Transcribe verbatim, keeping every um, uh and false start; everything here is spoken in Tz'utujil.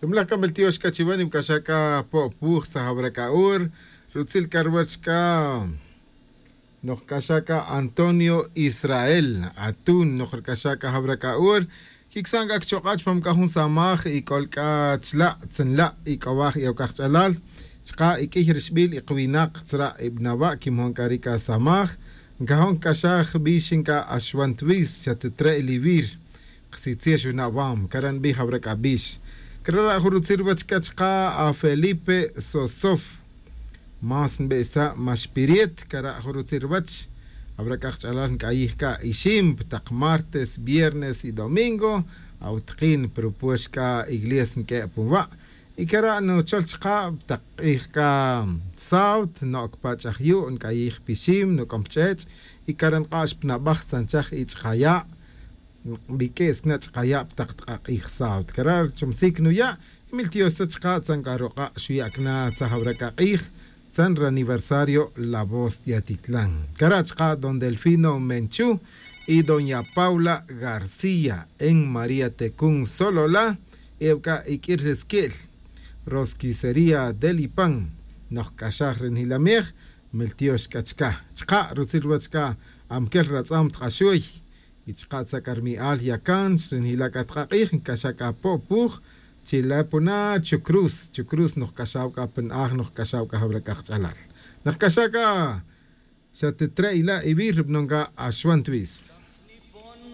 Ri milaj c'a miltiox c'a chiwe nibc'axaj c'a po'puj tzajawra c'a hor rutzil c'a ruwech c'a. Nojc'axaj c'a antonio israel atun nojric'axaj c'a jawra c'a hor. Quic'san c'a cachok'a' chupam c'a jun samaj y c'ol c'a chla' tzanla' y c'owaj y awc'aj ch'alal. Chaka' y q'uiy rixbil y kawinak tzra' y binawa' quimon c'a ri c'a samaj. Ncajon c'a xa jbix nc'a axwan twis xa titre' liwir. Kasitziex wina' wam cara' nbij awra c'a bix. Cara' ra' jun rutzil ruwech c'a chaka' afelipe sosof. Más nbe'isa' max piriet cara' jun rutzil ruwech. Awra c'a kach'alal nc'ayij c'a ixim pa tak martes viernes y domingo. Awtakin pa rupuex c'a iglesia nq'ue' pa nwa'. Y cara' nuchol chaka' pa tak k'ij c'a sábado noc pa ch'ajyu' nc'ayij pa ixim nuc'om pa ch'ech'. Y cara' nk'ax pa nabaj tzanchaj y ch'ajaya'. Nbiq'uis na ch'ajaya' pa tak tak'ak'ij sábado cara' chumsic nuya'. Y miltiox sa chaka' tzan c'a ruk'a' xuya' cana tzaj awra c'a k'ij. Tzan ri aniversario la voz de atitlan cara' chaka' don delfino menchu y doña paula garcía en maría tecun solola. Y awc'a iq'uir ri squi'l rosquicería delipan. Nojc'axaj ri njilamej. Miltiox c'a chaka' chaka' rutzil ruwech c'a. Amquel ratz'am tk'axuy y chaka' tza c'a rmi'al yacan ri njila' c'a tk'ak'ij nc'axaj c'a po'puj. Chila' puna chucruz chucruz nojc'axaj c'a pa na'aj nojc'axaj c'a jawra c'a kach'alal. Nojc'axaj c'a xa titre' ila' iwir ri bnon c'a axwan twis.